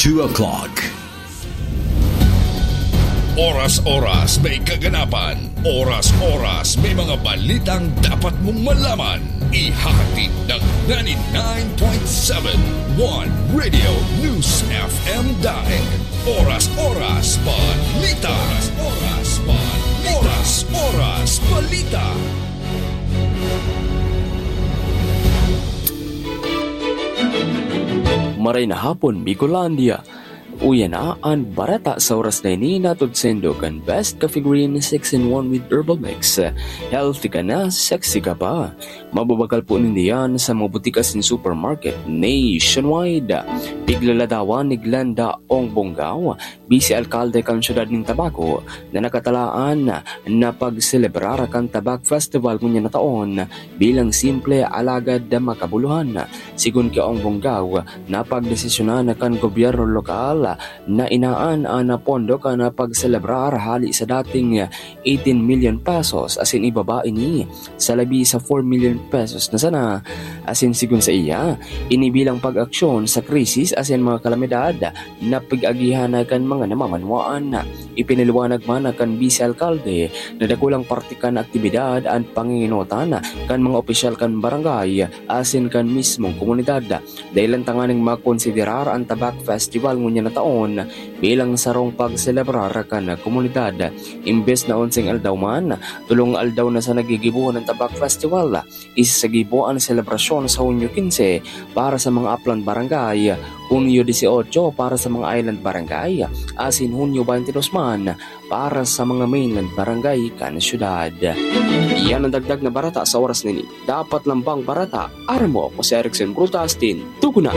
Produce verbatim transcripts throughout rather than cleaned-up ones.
Two o'clock. Oras-oras may kaganapan. Oras-oras may mga balitang dapat mong malaman. Ihahatid ng ninety-nine point seven One Radio News F M Daet. Oras-oras balita. Oras-oras balita. Oras-oras balita. Maray na hapon, Bicolandia. Uya na an bareta sa oras na ini, hatod saindo kan Best Coffee Green six-in-one with Herbal Mix. Healthy ka na, sexy ka pa. Mababakal po nindo yan sa mga butika asin supermarket nationwide. Piglalatawan ni Glenda Ong Bonggao, Bise Alkalde kan Siyudad nin Tabaco, na nakatalaan na pagselebrar kan Tabak Festival ngunyan na taon bilang simple alagad makabuluhan. Sigon ki Ong Bonggao, napagdesisyonan kan gobyerno lokal na inaan an pondo kan pagselebrar hali sa dating eighteen million pesos asin ibaba ini sa labi sa four million pesos na sana. Asin sigon saiya, ini bilang pag-aksyon sa krisis asin mga kalamidad na pig-agihan kan mga namamanwaan. Ipinaliwanag man kan Bise Alkalde na dakulang parte kan aktibidad an pangingenotan kan mga opisyal kan barangay asin kan mismong komunidad. Dahelan tanganing makonsiderar an Tabak Festival ngunyan na taon bilang sarong pagselebrar kan komunidad. Imbes na onseng aldaw man, tolong aldaw na sana gigibohon an Tabak Festival. Isa sa gibo an selebrasyon sa Hunyo quince para sa mga upland barangay, Hunyo dieciocho para sa mga island barangay, asin Hunyo twenty-two man para sa mga mainland barangay kan syudad. Iyan an dagdag na bareta sa oras na ini. Dapat lambang bareta, aram mo, ako si Erickson Brutas, tin, tugon na.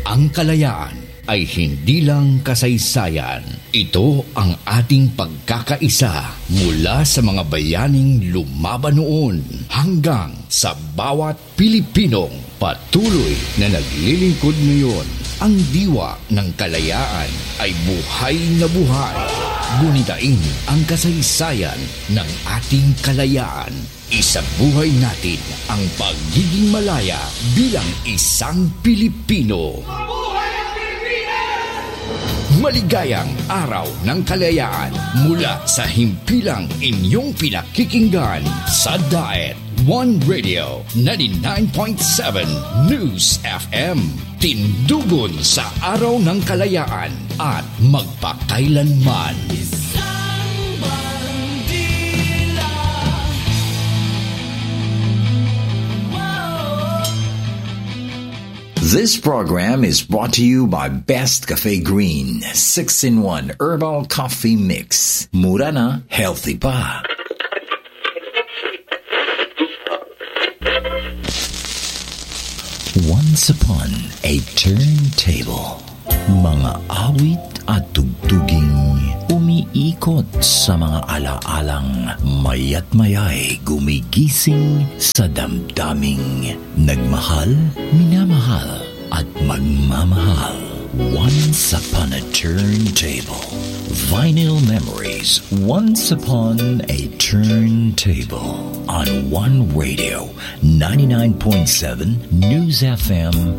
Ang kalayaan ay hindi lang kasaysayan. Ito ang ating pagkakaisa mula sa mga bayaning lumaban noon hanggang sa bawat Pilipinong patuloy na naglilingkod ngayon. Ang diwa ng kalayaan ay buhay na buhay. Gunitain ang kasaysayan ng ating kalayaan. Isabuhay natin ang pagiging malaya bilang isang Pilipino. Maligayang Araw ng Kalayaan mula sa himpilang inyong pinakikinggan sa Daet One Radio ninety-nine point seven News F M. Tindugon sa Araw ng Kalayaan at magpakailanman. Isang bandila. Wow. This program is brought to you by Best Cafe Green, six-in-one Herbal Coffee Mix. Mura na, healthy pa. Once upon a turntable. Mga awit at tugtuging umiikot sa mga alaalang mayat maya'y gumigising sa damdaming nagmahal, minamahal, at magmamahal. Once upon a turntable. Vinyl memories. Once upon a turntable. On One Radio, ninety-nine point seven News F M,